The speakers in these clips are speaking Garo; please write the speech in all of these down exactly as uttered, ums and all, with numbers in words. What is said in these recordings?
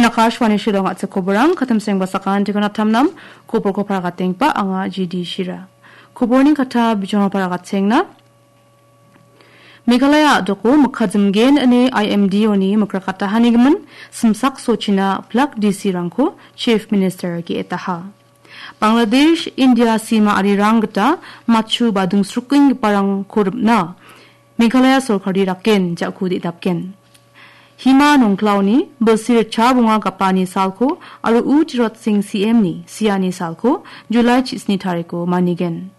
Akashvani Shillong a·chik koborang, katim sengba sakan tikon atamnam, koborko paragatengpa anga G D Shira. Koborni kata bijong paragatengna. Meghalaya a·doko mikka jimgen ine I M D O ni mikrakatahanigimin simsak sochina plak D C rangko Chief Minister ge·etaha. Bangladesh, India sima arirang gita matchu ba dungsrukenggiparangko ripna Meghalaya sorkari raken ja·ku de·dapgen. Hima Nongklaoni bilsi ritchap ong·a gapani salko aro U Tirot Singh C M ni siani salko July chisni tariko manigen.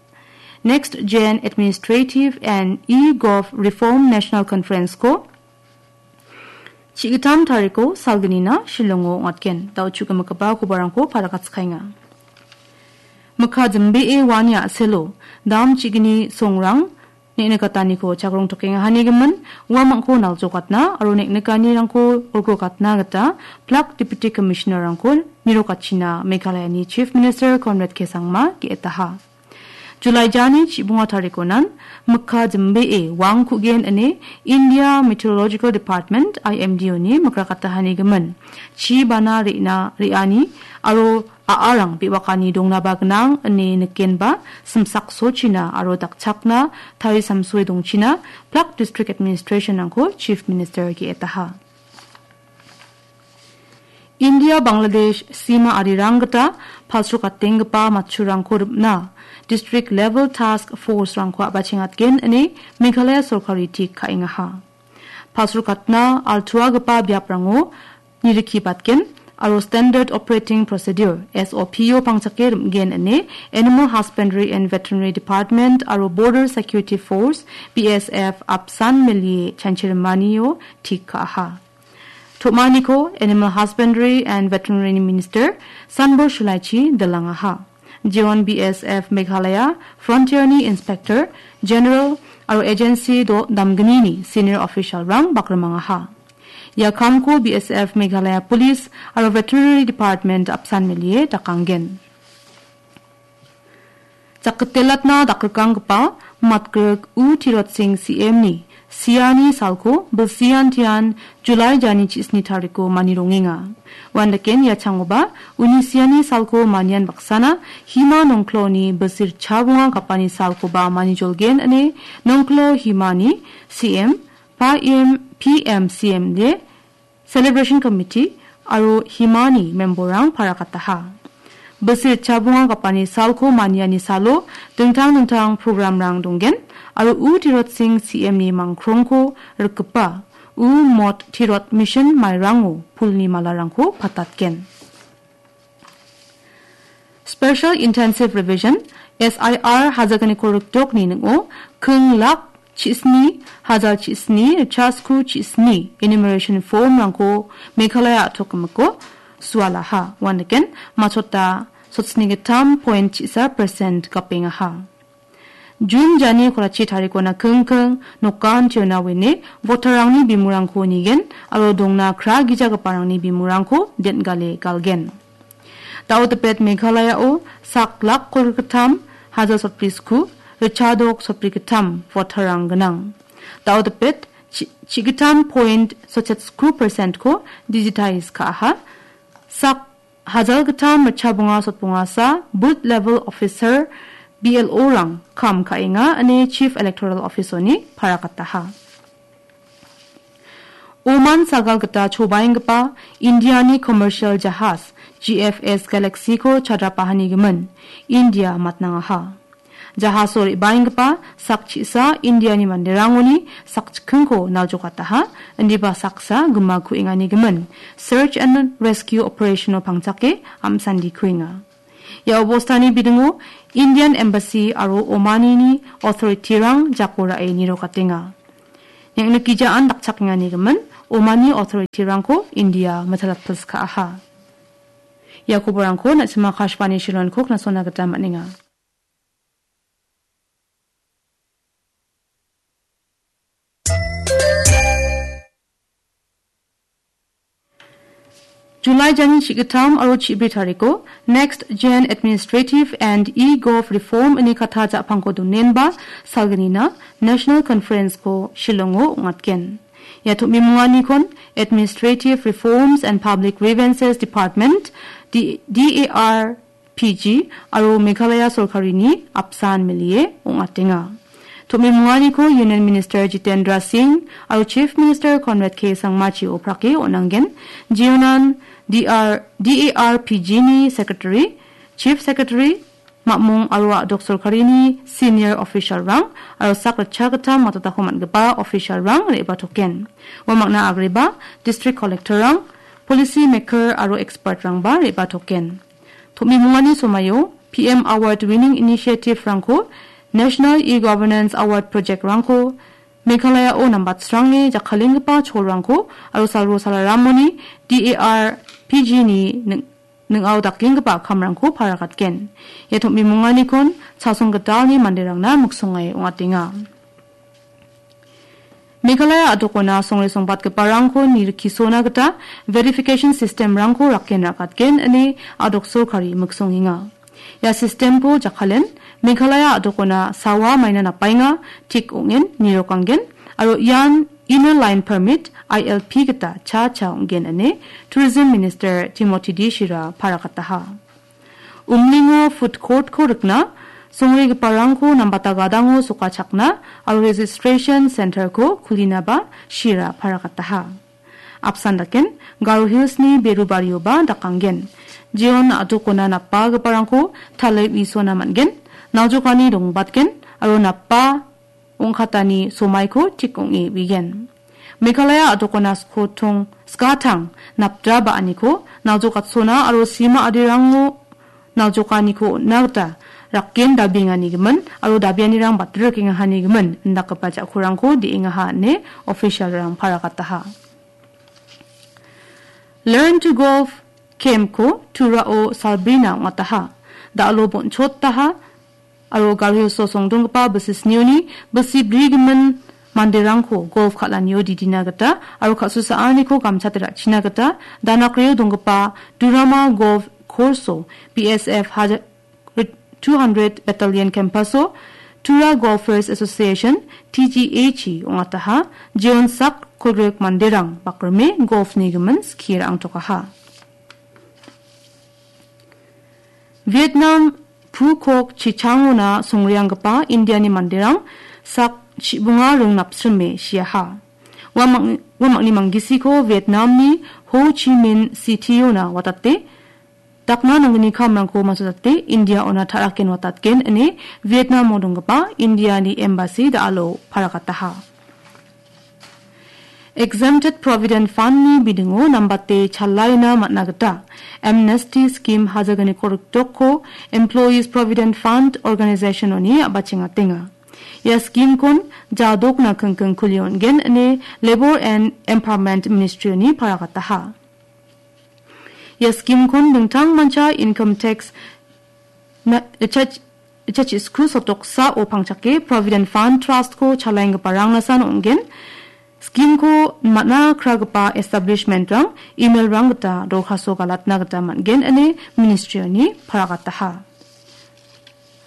Next Gen Administrative and e-Gov Reform National Conference-ko chi·gitam tariko salgnina Shillongo ong·atgen. Dao chu·gimikgipa kobarangko paragatskaenga. Mikka jimbee uani a·selo dam chi·gni songrang neng·nikataniko chakrongtokenga hanigimin uamangko naljokatna aro neng·nikanirangko olgrokatna gita plak Deputy Commissioner-rangko nirokatchina Meghalayani Chief Minister Conrad K Sangma ge·etaha. July jani chibonga tarikonan mikka jimbee wang ku·gen ine India Meteorological Department, I M D O ni mikrakatahanigimin. Chi bana re·na, re·ani aro a·arang be·bakani dongnaba gnang ine nikenba simsak sochina aro dakchakna tarisamsoe dongchina plak District Administration-rangko Chief Minister ge·etaha. India Bangladesh sima arirang gita palsrokatenggipa matchurangko ripna District Level Task Force-rangko a·bachengatgen ine Meghalaya sorkari tik ka·engaha. Palsrokatna altuagipa biaprango nirikibatgen aro Standard Operating Procedure, S O P-o pangchake rim·gen ine Animal Husbandry and Veterinary Department aro Border Security Force, B S F, apsan melie chanchirimanio tik ka·aha. Tom·aniko Animal Husbandry and Veterinary Minister Sanbor Shulaichi dilangaha. Jeon B S F Meghalaya Frontier-ni Inspector General aro agency do damgnini senior official-rang bakrimangaha. Ia kamko B S F Meghalaya Police aro Veterinary Department apsan melie dakanggen. Jakitelatna dakrikanggipa matgrik U Tirot Singh C M-ni siani salko bilsian tian July jani chisni tariko mani rongenga. Uandaken ia changoba uni siani salko manian baksana Hima Nongkloni bilsi ritchabonga gapani salkoba mani jolgen ine Nongklo Himani C M, P M, P M C M de Celebration Committee aro Himani member-rang parakataha. Bilsi ritchabonga gapani salko maniani salo dingtang dingtang program-rang donggen aro U Tirot Singh C M-ni mangkrongko rikgipa U Mot Tirot Mission mairango pulni malarangko patatgen. Special Intensive Revision, S I R, hajalgniko rikdokni ning·o kring lak chisni hajal chisni chasku chisni enumeration form-rangko Meghalaya a·tokgimiko sualaha. Uandaken machota sotsni gittam point chisa percent gapengaha. Jun jani korachi tarikona kingking nokan tiona wene voter-rangni bimurangko nigen aro dongna kra gijagiparangni bimurangko den·gale galgen. Dao dipet Meghalaya-o sak lak kolgittam hajar sotbri sku, richadok sotbri gittam voter-rang gnang. Dao dipet chi-, chigittam point sotset sku percent-ko digitize ka·aha. Sak hajalgittam ritchabonga sotbongasa booth level officer, B L O-rang kam ka·enga ine Chief Electoral Officer-oni parakataha. Oman sagal gita chobaenggipa Indiani commercial jahas G F S Galaxy-ko chadrapahanigimin India matnangaha. Jahaso re·baenggipa sak chisa Indiani manderangoni sak chikkingko naljokataha, indiba saksa gima ku·enganigimin search and rescue operation-o pangchake am·sandi kuenga. Ia obostani bidingo Indian Embassy aro Omanini authority-rang jako ra·e nirokatenga. Neng·nikgijaan dakchakenganigimin Omani authority-rangko India mitalappilskaaha. Ia koborangko na·sima Akashvani Shillong-ko knasona gita man·enga. July jani chigittam aro chibri tariko Next Gen Administrative and e-Gov Reform ine kata ja·pangko donenba salgnina National Conference-ko Shillongo ong·atgen. Ia tom·bimonganikon Administrative Reforms and Public Grievances Department, D-, D A R P G, aro Meghalaya sorkarini apsan melie ong·atenga. Tom·bimonganiko Union Minister Jitendra Singh aro Chief Minister Conrad K Sangmachi oprake on·angen, jionan D R, D A R P G ni Secretary, Chief Secretary, mamung aro a·dok sorkarini senior official-rang aro sak ritchagittam matotako man·gipa official-rang re·batoken. Ua mangna agreba district collector-rang, policy maker aro expert-rangba re·batoken. Tom·bimungani somaio P M Award winning initiative-rangko, National E-Governance Award project-rangko, Meghalaya-o nambatsrange jakkalenggipa cholrangko aro salro salaramoni D A R P G ni ning-, ning·ao dakenggipa kamrangko parakatgen. Ia tom·bimonganikon chasong gitalni manderangna miksonge ong·atenga. Meghalaya a·dokona songre songbatgiparangko nirikisona gita verification system-rangko raken rakatgen ine a·dok sorkari miksongenga. Ia system-ko jakkalen Meghalaya a·dokona sawa maina napaenga, tik ong·en nirokanggen, aro ian Inner Line Permit, I L P, gita cha cha ong·gen ine Tourism Minister Timothy D Shira parakataha. Umlingo food court-ko rikna, songregiparangko nambata gadango sokachakna aro registration center-ko kulinaba Shira parakataha. Apsan daken, Garo Hills-ni berubarioba dakanggen. Jeon a·dokona napagiparangko tale uisona man·gen, naljokani dongbatgen, aro napa ong·katani somaiko tik ong·e uigen. Meghalaya a·dokona skotong, skatang, napdra ba·aniko naljokatsoana aro sima adirango naljokaniko on·na gita raken dabiengani gimin aro dabianirang batrikengahani gimin indakgipa ja·kurangko de·engaha ine official-rang parakataha. Learn to Golf camp-ko Turao salbrina ong·ataha. Da·alo bonchotaha aro Garo Hills-o songdonggipa bilsi snioni bilsi bri gimin manderangko golf kal·anio didina gita aro ka·susaaniko gamchate ra·china gita Danakrio donggipa Durama Golf Course-o B S F haja-, two hundred Battalion Campus-o Tura Golfers Association, T G A G, ong·ataha, jeonsak kolgrek manderang bakrime golf-ni gimin skie ra·angtokaha. Vietnam Phu Quoc chichangona songreanggipa Indiani manderang sak chibonga ring napsrime siaha. Uamang-, uamangni manggisiko Vietnamni Ho Chi Minh City-ona watate dakna nanggni kamrangko masotate India-ona ta·raken watatgen ine Vietnam-o donggipa Indiani embassy da·alo parakataha. Exempted Provident Fund-ni bidingo nambate chalaina man·a gita Amnesty Scheme hajaganiko rikdokko Employees Provident Fund Organization-oni a·bachengatenga. Ia scheme-kon jadokna kingking kulion gen ine Labour and Empowerment Ministry-oni parakataha. Ia scheme-kon dingtang mancha income tax na-, chach-, chachisku sotoksao pangchake Provident Fund Trust-ko chalaenggiparangnasan ong·gen. Scheme-ko man·a kragipa establishment-rang email-rang gita dorkhasto galatna gita man·gen ine ministry-oni paragataha.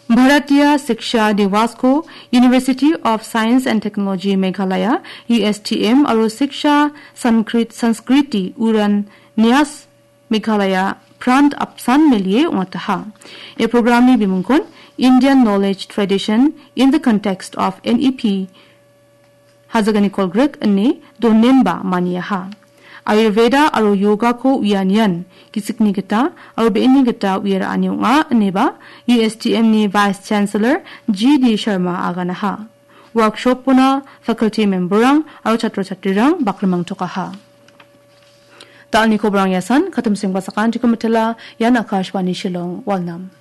Bharatiya Shiksha Diwas-ko University of Science and Technology Meghalaya, U S T M, aro Shiksha Sanskrit-, Sanskriti Uran Nyas Meghalaya Prant apsan melie ong·ataha. Ia programni bimungkon Indian Knowledge Tradition in the Context of N E P Hajagani Kolgrek ine donemba maniaha. Ayurveda aro yogako uianian gisikni gita aro be·eni gita uia ra·ani ong·a ineba U S T M-ni Vice Chancellor G D Sharma aganaha. Workshop-ona faculty member-rang aro chatro chatrirang bakrimangtokaha. Da·alni koborang iasan, katim sengbasakan Jikomitela, ian Akashvani Shillong, Walnam.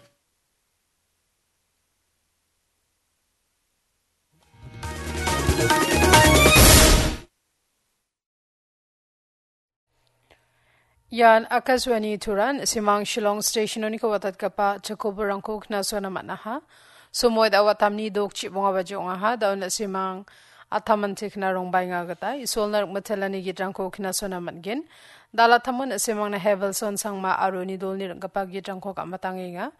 Ian Akashvani Turan, Simang Shillong Station-oniko watatgipa chikoborangko knasona man·aha. Somoy da·o atamni dok chibonga baji ong·aha, da·o na·simang atamante kna rongbaenga gita, Isolna rikmitelani gitrangko knasona man·gen. Dalatamon na·simangna Hevelson Sangma aro uni dolni ring·gipa gitrangko gam·atangenga.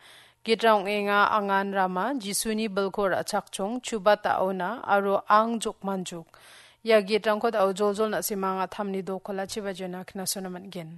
Gitrang ong·enga Angan Rama, Jisuni bilko ra·chakchong, Chubat Aona, aro Ang Jokmanjuk. Ia gitrangko da·o joljol na·simang a·tamni dokolachiba joina knasona man·gen.